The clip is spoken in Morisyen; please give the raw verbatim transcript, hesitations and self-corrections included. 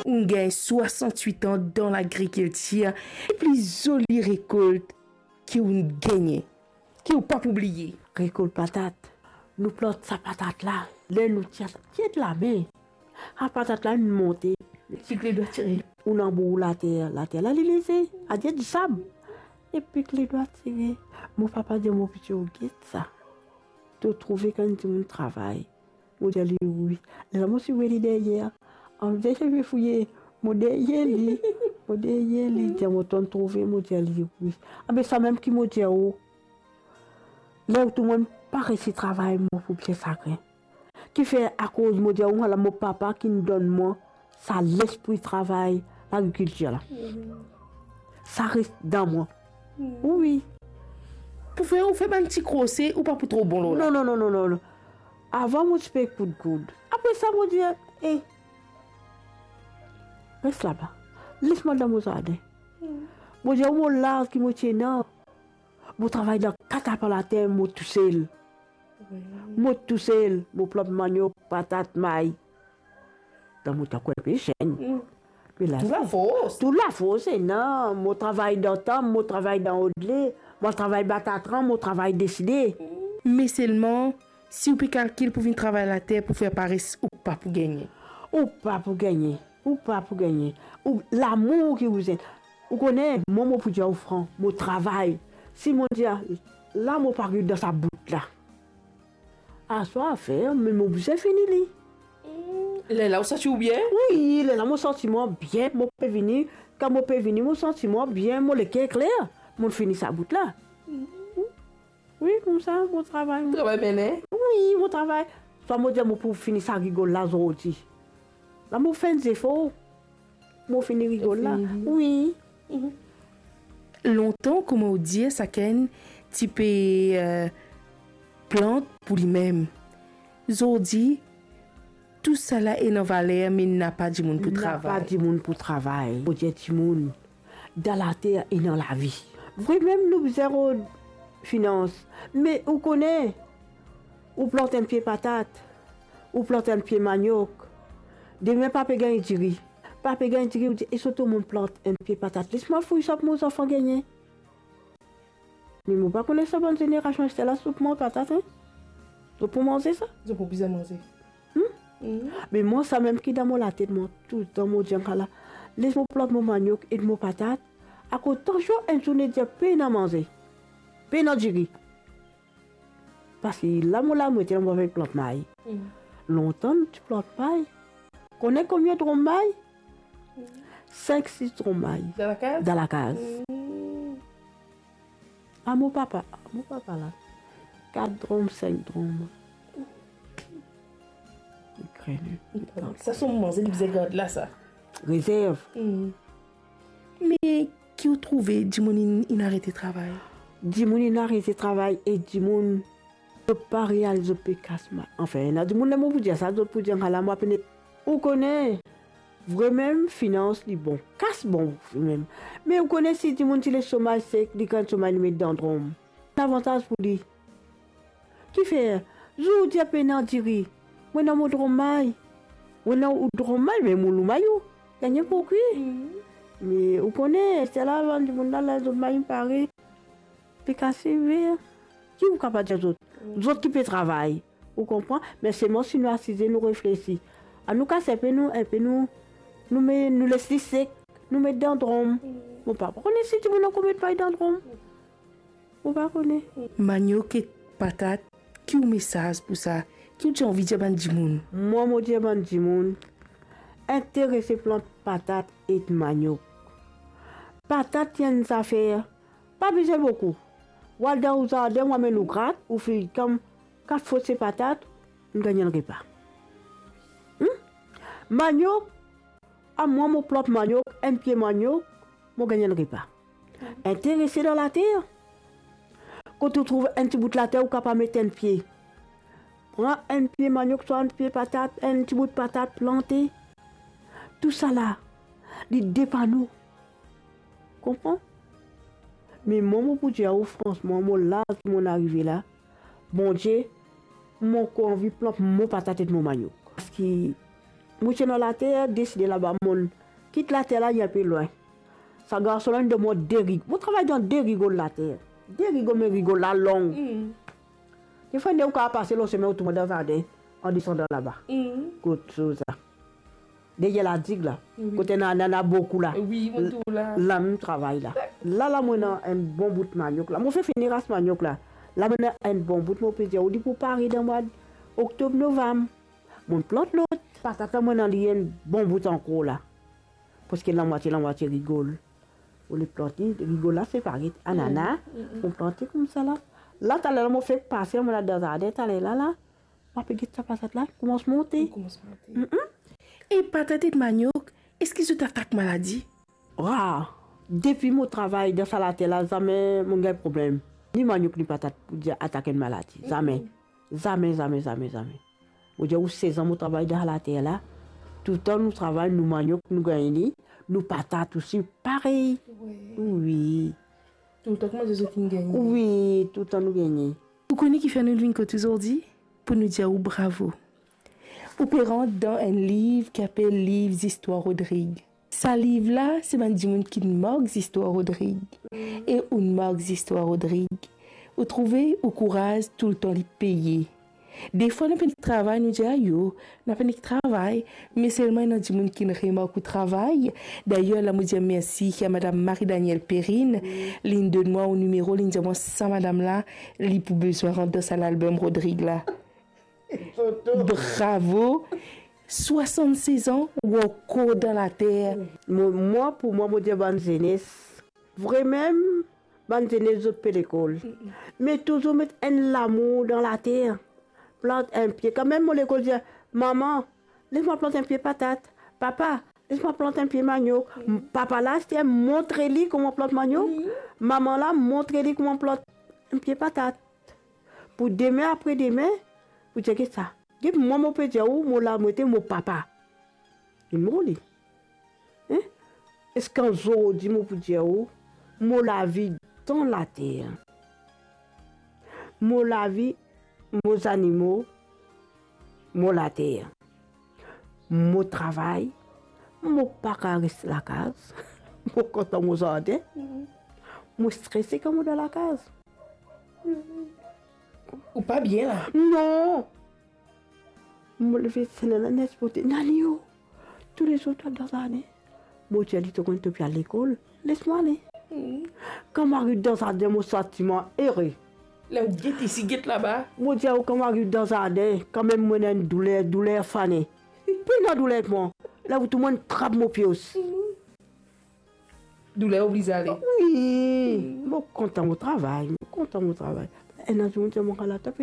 Ou gagn swasant-wit an dan lagrikiltir, e pli zoli rekolt ki ou gagne, ki ou pa pou bliye? Rekolt patat. Nou plant sa patat la, ler nou tir, tir lame, sa patat la inn monte. Pik ledwa tire. Ou anbour later, later la li leze, adir disab. E pik ledwa tire. Mo papa dir mo, piti, ou get sa. To trouve kan dimoun travay? Mo dir li wi. Lerla mo ti we li deryer. An dir, mo fouye, mo deryer li. Mo deryer li, dir mo, to trouve? Mo dir li wi. Abe sa mem ki mo dir ou. Ler ou trouv mwa pa resi travay, mo pou bien sagrin. Kifer? Akoz mo dir ou, ala mo papa ki'nn donn mwa sa lespri travay lagrikiltir la. Sa res dan mwa. Wi. Pou fer, ou fer bann ti krose, ou pa pou tro bon lor la. Non, non, non, non, non, non. Avan mo ti pe koud koud. Apre sa mo dir, e, res laba. Les mwa dan mo zardin. Mo dir ou, mo laz ki mo ti ena, mo travay dan kat apal later, mo tousel. Wi. Mo tousel, mo plant maniok, patat, may. Dan mo tan mo ti enpe zenn. Mm. Me la, tou lafors. Tou lafors ena, mo travay dan tanp, mo travay dan odle, mo travay batatran, mo travay deside. Me selman, si ou pe kalkil pou vinn travay later pou fer pares, ou pa pou gagne. Ou pa pou gagne. Ou pa pou gagne. Ou, lamour ki ou zenn. Ou kone, mwa, mo pou dir ou fran, mo travay. Si mo dir, la mo pa ariv dan sa bout la, aswar fer, me mo bizin fini li. Lerla ou santi ou bien? Wi, lerla mo santi mwa bien, mo pe vini. Kan mo pe vini, mo santi mwa bien, mo leker kler, mo fini sa bout la. Wi, koumsa, mo travay. Travay bien, hein? Wi, mo travay. Swa mo dir mo pou fini sa rigol la zordi. La mo fer enn zefor. Mo fini rigol la. Fini. Wi. Mhm. Lontan, kouma ou dir, sakenn ti pe, eh, plant pou limem. Zordi, tousala ena valer, me napa dimoun pou travay. Napa dimoun pou travay. Mo dir dimoun, dan later ena lavi. Vremem nou bizin rod finans, me ou kone, ou plant enn pie patat, ou plant enn pie maniok, demin pa pe gagn diri, pa pe gagn diri, ou dir, e so to mo plant enn pie patat, les mwa fouy sa pou mo zanfan gagne. Me mo pa kone sa bann zenerasion aster la, zot pou manz patat, hein? Zot pou manze sa? Zot pou bizin manze. Hmm? Mhm. Me mwa, samem ki dan mo latet, mwa, toultan mo dir, ala, les mo plant mo maniok ek mo patat, akoz tansion enn zourne dir pena manze, pena diri. Parski la mo la, mo ete la, mo pe plant may. Mhm. Lontan nou ti plant may. Kone konbien drom may? Mhm. Sink, sis drom may. Dan lakaz? Dan lakaz. Mhm. A mo papa, a mo papa la, kat drom, sink drom. Li krene. Sa so manze, li bizin gard la, sa. Rezerv. Hmm. Me ki ou trouve, dimoun inn, inn arete travay? Dimoun inn arete travay e dimoun, zot pa realiz zot pe kas may. Anfin, ena dimoun, ler mo pou dir sa, zot pou dir, ala, mwa pena. Ou kone, vremem, finans li bon. Kas bon, vremem. Me ou kone, si dimoun ti les so may sek, li gagn so may, li met dan drom. Lavantaz pou li. Kifer, zour ou dir pena diri, mo ena mo drom may. Mo ena ou drom may, me mo lou may ou gagne pou kwi. Mhm. Me ou kone, aster la, bann dimoun la, la, zot may pare. Pe kase ver. Ki ou kapav dir zot? Mm. Zot ki pe travay. Ou konpran? Me selman si nou asize, nou reflesi. Anou kas enpe nou, enpe nou, nou me, nou les li sek, nou met dan drom. Mm. Mo pa kone si dimoun ankor met may dan drom. Mo pa kone. Maniok ek patat, ki ou mesaz pou sa? Ki ou ti anvi dir bann dimoun? Mwa, mo dir bann dimoun, interese plant patat ek maniok. Patat, ti enn zafer, pa bizin boukou. Ou al dan ou zardin, ou amenn ou grat, ou finn gagn kat fos se patat, ou gagn enn repa. Hmm? Maniok, a mwa, mo plant maniok, enn pie maniok, mo gagn enn repa. Interese dan later. Kot ou trouv enn ti bout later, ou kapav met enn pie. Pran enn pie maniok, swa enn pie patat, enn ti bout patat, plante. Tousala, li depann ou. Konpran? Me mwa, mo pou dir ou fransman, mo laz ki mo arive la, Bondie, mo ankor anvi plant mo patat ek mo maniok. Parski Mo ti ena later, deside laba, mo kit later la, li inpe lwin. Sa garson la inn donn mwa de rig-, mo travay dan de rigol later. De rigol, me rigol la long. Mm. Defwa, ou kav pase lor semin, ou tourne dan zardin, an desandan laba. Mm. Kot soz la. Deryer ladig la. Wi. Kot ena, ena, ena boukou la. Wi, mo trouv la. La mo travay la. La, la, mo ena enn bon bout maniok la. Mo finn fini ras maniok la. La, mo ena enn bon bout, mo pe dir ou, li pou pare dan mwa oktob, novam. Mo plant lot. Patat la, mo ena li enn bon bout ankor la. Parski ena mwatie, ena mwatie rigol. Mo le plante, rigol la separe, anana, mm, mm, mm, mo plante koumsa la. La, taler la, mo fek pase, mo al dan zardin, taler la, la. Mo pe get sa patat la, koumans monte. Koumans monte. Mm, mm. E patat ek maniok, eski zot atak maladi? Wa, depi mo travay dan sa later la, zame mo gagn problem. Ni maniok, ni patat pou dir atak enn maladi. Zame. Mm. Zame, zame, zame, zame. Mo dir ou, sez an mo travay dan later la. Touletan nou travay, nou maniok, nou gagn li, nou patat osi, parey. Wi. Wi. Touletan kouma zot inn gagne? Wi, touletan nou gagne. Ou kone kifer nou vinn kot ou zordi? Pou nou dir ou bravo. Ou pe rant dan enn liv ki apel Liv Zistwar Rodrig. Sa liv la, se bann dimoun ki mark zistwar Rodrig. E ou mark zistwar Rodrig. Ou trouve, ou kouraz touletan li peye. Defwa nou pena travay, nou dir, "Ayo, nou pena travay," me selman ena dimoun ki remark ou travay. Dayer, la mo dir mersi a madam Marie Danielle Perrine, li donn mwa ou nimero, li dir mwa sa madam la, li pou bizin rant dan sa lalbom Rodrig la. Bravo! Swasann-sez an, ou ankor dan later. Mo, mwa, pou mwa, mo dir bann zenes, vremem, bann zenes, zot pe lekol. Mm-mm. Me touzour met enn lamour dan later. Plant enn pie. Kanmem mo lekol dir, "Mama, les mwa plant enn pie patat. Papa, les mwa plant enn pie maniok." Mm. Papa la, aster, montre li kouma plant maniok. Mm. Mama la, montre li kouma plant enn pie patat. Pou demin, apre demin, pou dir ki sa. Depi mwa mo pe dir ou, mo la, mo ete mo papa. Li mor li. Hein? Eski zordi mo pou dir ou, mo lavi dan later. Mo lavi, mo zanimo, mo later. Mo travay, mo pa kav res lakaz. Mo kontan mo zardin. Mhm. Mo strese kan mo dan lakaz. Ou pa bien la? Non. Mo leve, se nana net pote, "Nani o, toulezour to al dan zardin." Mo dir li, "To konn to pe al lekol, les mwa ale." Mm. Kan mo ariv dan zardin, mo santi mwa ere. La ou get isi, get laba. Mo dir ou, kan mo ariv dan zardin, kanmem mo ena enn douler, douler fane. Pena douler ek mwa. La ou tou mwa trap mo pios. Mm. Douler oblize ale. Wi, mo kontan mo travay, mo kontan mo travay. Ena dimoun dir mwa, "Ala, to pe